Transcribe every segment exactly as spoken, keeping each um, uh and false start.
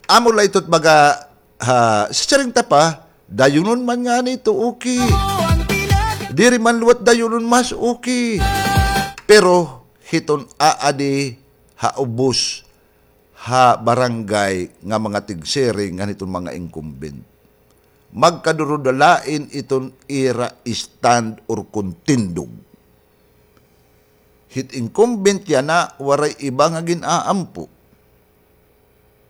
Amo la ito it baga, ha, siring ta pa, dayunon man ngani ito, okay. Diri man liwat dayunon, mas okay. Pero hiton aadi ha ubos ha barangay nga mga tigsiring ngan hiton mga incumbent, magkadurudalain iton ira stand or kontindog. Hit incumbent yana, waray iba nga gin-aampo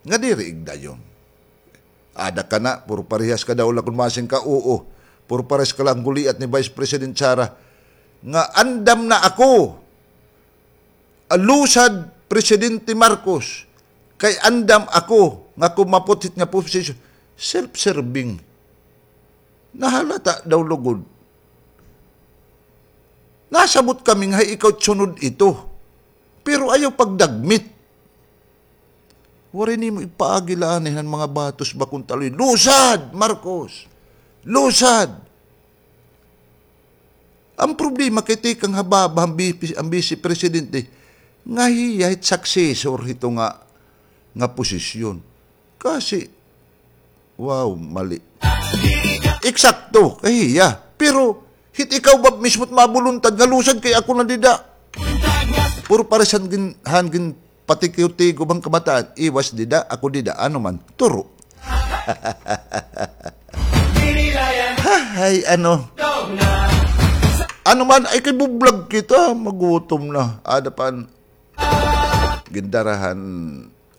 nga diri igdayon. Ada ka na, puro parehas ka daw la kon masing ka, oo. Puro parehas ka la han guliat ni Vice President Sara nga andam na ako. Alusad Presidente Marcos, kay andam ako nga kumapot hit nga posisyon. Self-serving. Nahalata daw lugod. Nasabot kami nga ikaw sunod ito. Pero ayaw pagdagmit. Waray nimo ipaagi la anay han mga batos bakong taloy. Lusad, Marcos! Lusad! An problema kay tikang ha baba an bi-, an Vice Presidente nga hiya it successor hito nga, nga posisyon. Kasi, wow, mali. Eksakto, kay hiya. Pero, hit ikaw ba mismo it mabuluntad nga lusad kay ako na dida? Puro paresan gin-, han gin-, patikiw-tigo bang kamataan, iwas dida, ako dida, ano man, turo. Hay, ano. Ano man, ay kay bublag kita, magutom na. Ada pa an gindarahan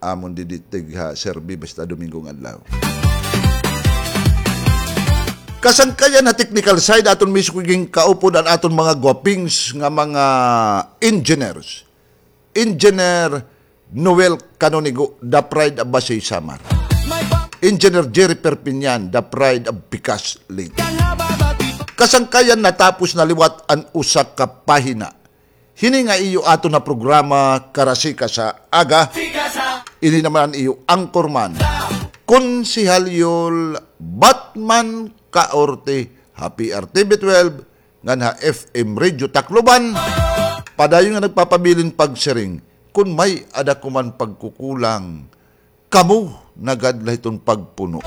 amon didi tig ha serbi basta Domingo nga adlaw. Kasangkayan ha technical side, aton mismo gin kaupod an aton mga gwapings nga mga engineers. Engineer Noel Canonigo, the pride of Basey Samar. Engineer Jerry Perpignan, the pride of Pikas Leyte. Kasangkayan, natapos na liwat an usa ka pahina. Hini nga iyo aton nga programa, Karasika sa Aga. Ini naman an iyo anchorman, Konsehal Yul Batman Kaorte, ha P R T V twelve, ngan ha F M Radio Tacloban. Padayon nga nagpapabilin pagsiring, kon may-ada ko man pagkukulang, kamo na gad la hiton pagpuno.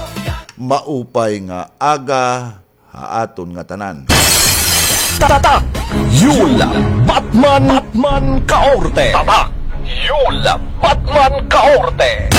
Maupay nga aga ha aton ngatanan. Tatak Yul Batman, Batman Kaorte. Tatak Yul Batman Kaorte.